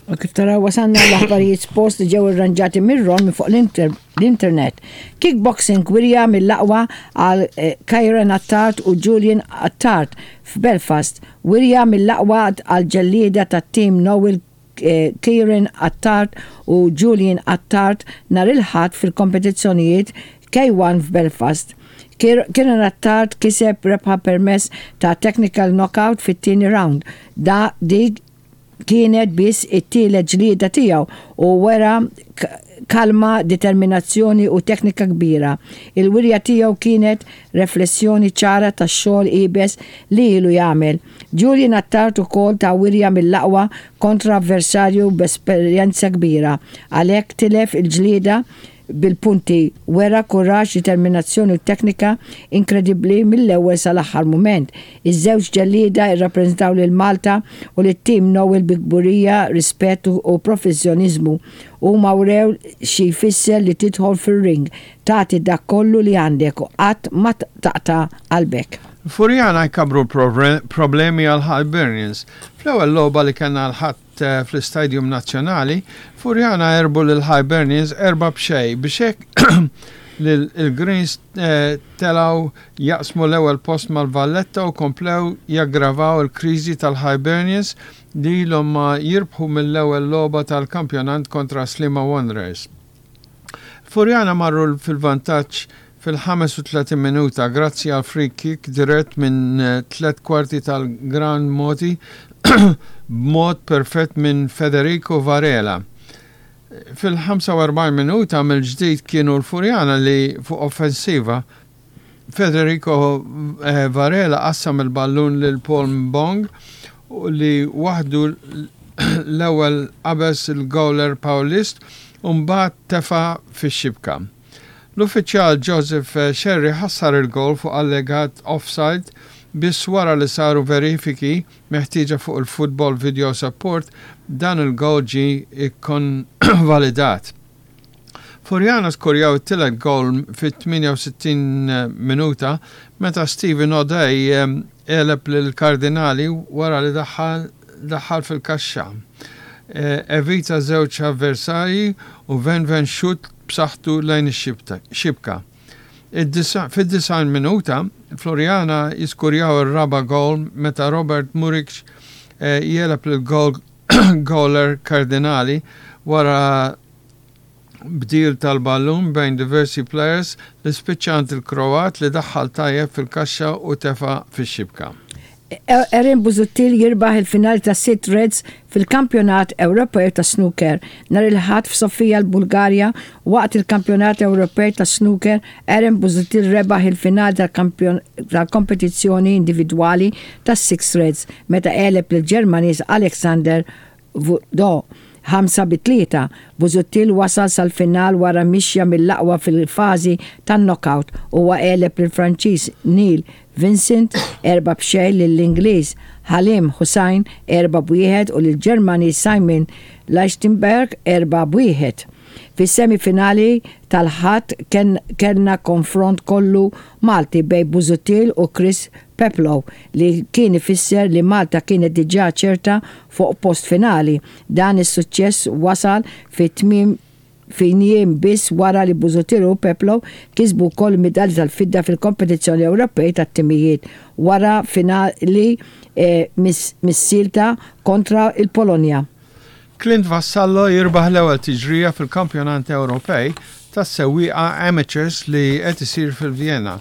U kif taraw wasalna l-aħbarijiet sport li ġew irranġati mir-Ron minn fuq l-internet. Kickboxing wirja mill-aqwa għal eh, Kyran Attard u Julian Attard f'Belfast. Wirja mill-aqwa għal ġellieda tat-tim Noel eh, Kieran Attard u Julian Attard nhar il-Ħadd fil-kompetizzjonijiet K1 f'Belfast. Kieran Attard kiseb rebħa permezz ta' technical knockout fit-tieni round. Da dik Kienet biss it-tielet ġlieda tiegħu u wera kalma, determinazzjoni u teknika kbira. Il-wirja tiegħu kienet reflessjoni ċara tax-xogħol iebes li ilu jagħmel. Julian Attard ukoll ta wirja mill-aqwa kontra avversarju b'esperjenza kbira. Għalhekk tilef il-ġlieda bil-punti, wera kuraġġ, determinazzjoni u teknika inkredibbli mill-ewwel sal-aħħar mument. Iż-żewġ ġellieda rrappreżentaw lil Malta u lit-Tim Noel bi kburija, rispett u professjoniżmu. Huma wrew xi jfisser li tidħol fir-ring, tagħti dak kollu li għandek u qatt ma taqta' qalbek. Furjana jkabbru l-problemi għal Hibernians. Fl-ewwel logħba li kellna l-Ħadd fl-Istadium Nazzjonali, Furjana għerbu lil Hibernians 4-0 biex hekk l-Greens telgħu jaqsmu l-ewwel post mal-Valletta u komplew jaggravaw il-kriżi tal-Hibernians li ilhom ma jirbħu mill-ewwel logħba tal-kampjonant kontra Sliema Wanderers. Furjana marru fil-vantaġġ fil-35 minuta grazzi għal free kick dirett minn tlett kwarti tal-ground mogħti b'mod perfett minn Federico Varela. Fil-45 minuta mill-ġdid kienu l-Furjana li fuq offensiva Federico Varela qassam il-ballun lil Paul Mbong li waħdu l-ewwel qabeż il-gowler Paulist u mbagħad tefa' fix-xibka. L-uffiċjal Joseph Scerri ħassar il-gowl fuq allegat offside biss wara li saru verifiki meħtieġa fuq il-Football Video Support dan il-gowl ġie kkonvalidat. Furjana skurjaw it-tielet gowl fit-68 minuta meta Steven O'Dea għeleb lil Cardinali wara li daħal daħal fil-kaxxa. Evita żewġ avversarji u venven xutt b'saħħtu lejn ix-xibka. Fid-90 minuta, Floriana jiskurjaw ir-raba' gowl meta Robert Muric jegħleb lill-gowler Cardinali wara bdil tal-ballun bejn diversi plejers li spiċċa għand il-Kroat li daħħal tajjeb fil-kaxxa u tefa' fix-xibka. Aaron Busuttil jirbaħ il-finali tas-Sitt Reds fil-Kampjonat Ewropew tas-Snooker. Nhar il-Ħadd f'Sofia l-Bulgarja waqt il-Kampjonat Ewropej tas-Snooker, Aaron Busuttil rebaħ il-finali tal-kompetizzjoni individwali tas-Six Reds meta għeleb lill-Ġermaniż Alexander Do, 5-3, Busuttil wasal sal-final wara mixja mill-aqwa fil-fażi tan-knockout. Huwa għeleb lill-Franċiż Neil Vincent 4-0, lill-Ingliż Halim Hussain 4-1 u lill-Ġermaniż Simon Lichtenberg 4-1. Fis-semi finali tal-Ħadd kellna konfront kollu Malti bejn Busuttil u Chris Peplow li kien ifisser li Malta kienet diġà ċerta fuq post finali. Dan is-suċċess wasal fi tmiem fi jiem biss wara li Busuttil u Peplow kisbu wkoll il-midalja tal-fidda fil-kompetizzjoni Ewropej tat-timijiet wara finali missielta kontra l-Polonja. Clint Vassallo jirbaħ l-ewwel tiġrija fil-Kampjonant Ewropej tas-Sewwieqa Amateurs li qed isir fil-Vjena.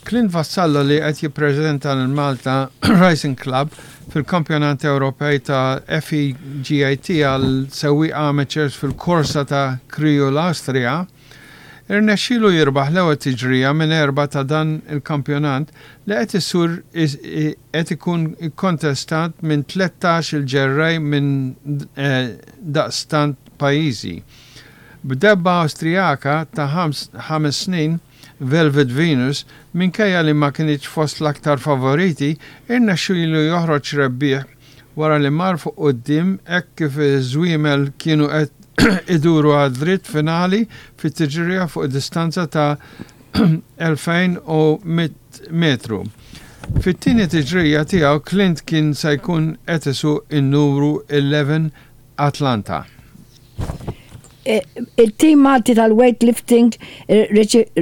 Clint Vassallo li qed jippreżenta lil Malta Racing Club fil-Kampjonant Ewropej ta' FEGAT għal sewwieqa amateurs fil-korsa ta' Kriju l-Awstrija, irnexxielu jirbaħ l-ewwel tiġrija minn erbgħa ta' dan il-kampjonant li qed isur qed ikun ikkontestat minn 13 il-ġerrej minn daqstant pajjiżi. B'debba Awstrijaka ta' ħames snin, Velvet Venus, minkejja li ma kinitx fost l-aktar favoriti, irnexxielu joħroġ rebbieħ wara li mar fuq quddiem hekk kif iż-żwiemel kienu qed iduru għad-dritt finali fit-tiġrija fuq distanza ta' 2,100 metru. Fit-tieni tiġrija tiegħu Clint kien se jkun qed isuq in-numru 11. Atlanta. Il-tim Malti tal-weightlifting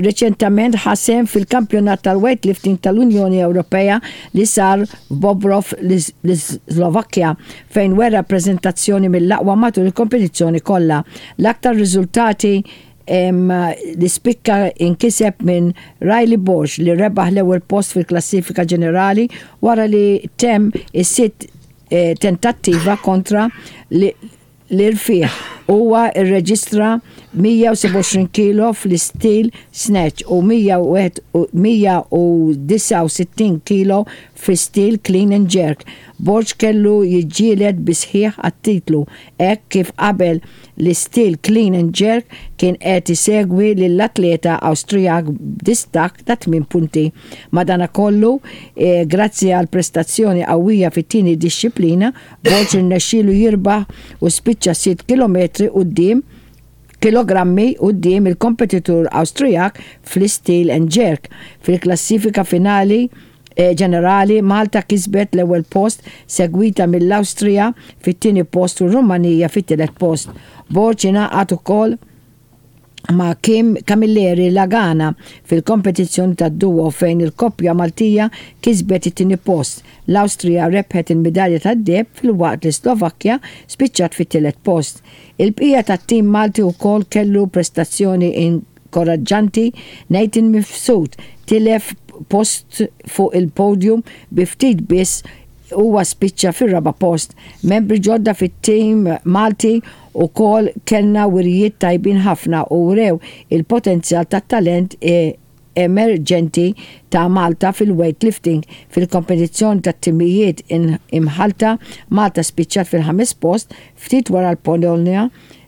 reċentament ħa sehem fil-Kampjonat tal-Weightlifting tal-Unjoni Ewropea li sar f'Bobrov l-Islovakkja fejn wera preżentazzjoni mill-aqwa matul il-kompetizzjoni kollha. L-aktar riżultati li spikka inkiseb minn Riley Borg li rebaħ l-ewwel post fil-klassifika ġenerali wara li temm is-sitt tentattiva kontra l-irfigħ. Huwa rreġistra 127 kilo fl-istil snatch u 169 kilo fl-istil clean and jerk. Borg kellu jiġġieled bis-sħiħ għat-titlu hekk kif qabel l-istil clean and jerk kien qed isegwi lill-atleta Awstrijak b'distakk ta' tmien punti. Madanakollu, grazzi għal prestazzjoni qawwija fit-tieni dixxiplina, Borg irnexxielu jirbaħ u spiċċa sitt kilometri quddiem kilogrammi quddiem il-kompetitur Awstrijak fl-istil and jerk. Fil-klassifika finali ġenerali, Malta kisbet l-ewwel post segwita mill-Awstrija fit-tieni post u r-Rumanija fit-tielet post. Borg ingħaqad ukoll ma' Kim Camilleri Lagana fil-kompetizzjoni tad-duo fejn il-koppja Maltija kisbet it-tieni post. L-Awstrija rebħet il-midalja tad-deheb filwaqt li s-Slovakkja spiċċat fit-tielet post. Il-bqija tat-tim Malti wkoll kellu prestazzjoni inkoraġġanti, Nathan Mifsud tilef post fuq il-podium bi ftit biss huwa spiċċa fir-raba' post. Membri ġodda fit-tim Malti ukoll kellna wirjiet tajbin ħafna u wrew il-potenzjal tat-talent emerġenti ta' Malta fil-weightlifting. Fil-kompetizzjoni tat-timijiet imħallta, Malta spiċċat fil-ħames post ftit wara l-Polonja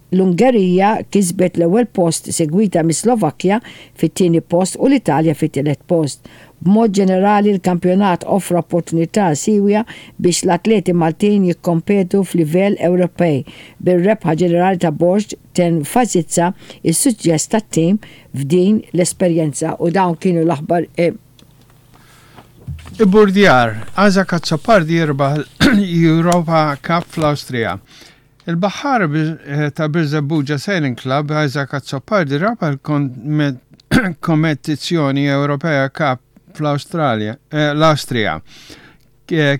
L-Ungerija kisbet l-ewwel post segwita mis-Slovakkja fit-tieni post u l-Italja fit-tielet post. B'mod ġenerali l-kampjonat offra opportunità siewja biex l-atleti Maltin jikkompetu f'livell Ewropej, bir-rebħa ġenerali ta' Borg tenfasizza s-suċċess tat-tim f'din l-esperjenza u dawn kienu l-aħbar Ibburdjar, Isaac Azzopardi jirbaħ l-Europa Cup fl-Awstrija. Il-baħħar ta' Birżebbuġa Sailing Club, Isaac Azzopardi rebaħ il-Kompetizzjoni Ewropea Cup fl-Awstralja, l-Awstrija.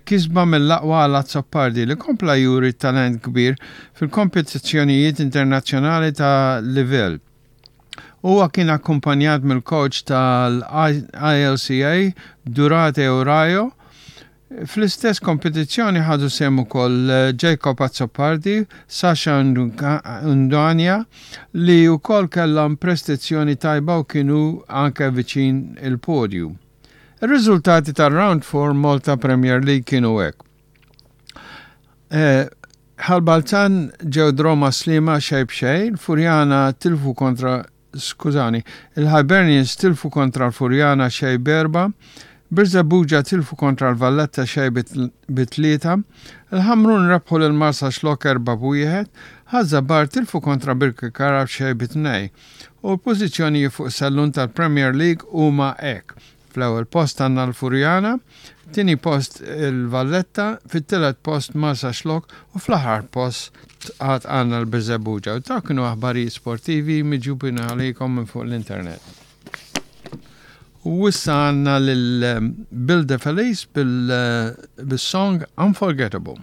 Kisba mill-aqwa għal Azzopardi li kompla juri talent kbir fil-kompetizzjonijiet internazzjonali ta' livell. Huwa kien akkumpanjat mill-coach tal-ILCA Durate Urayo Fl-istess kompetizzjoni ħadu sehem ukoll Jacob Azzopardi, Sasha Ndwania li wkoll kellhom prestizzjoni tajba u kienu anke viċin il-podju. Ir-riżultati tar-Round 4 Malta Premier League kienu hekk. Ħal Balzan ġew draw ma' Sliema xejn b'xejn, Furjana tilfu kontra Skużani, il-Hibernians tilfu kontra l-Furjana xejn b'erbgħa, Birżebbuġa tilfu kontra l-Valletta xejn bi tlieta, il-Ħamrun rebħu lil Marsaxlokk erbgħa b'wieħed, Ħaż-Żabbar tilfu kontra Birkirkara b'xejn bi tnejn. U l-pożizzjonijiet fuq is-sellun tal-Premier League huma hekk. Fl-ewwel post għandna l-Furjana, tieni post il-Valletta, fit-tielet post Marsaxlokk u fl-aħħar post għad għandna l-Birżebbuġa. U dawk kienu aħbarijiet sportivi miġjubin għalikom minn fuq l-internet. U issa għandna lil Bill DeFelice bil-song Unforgettable.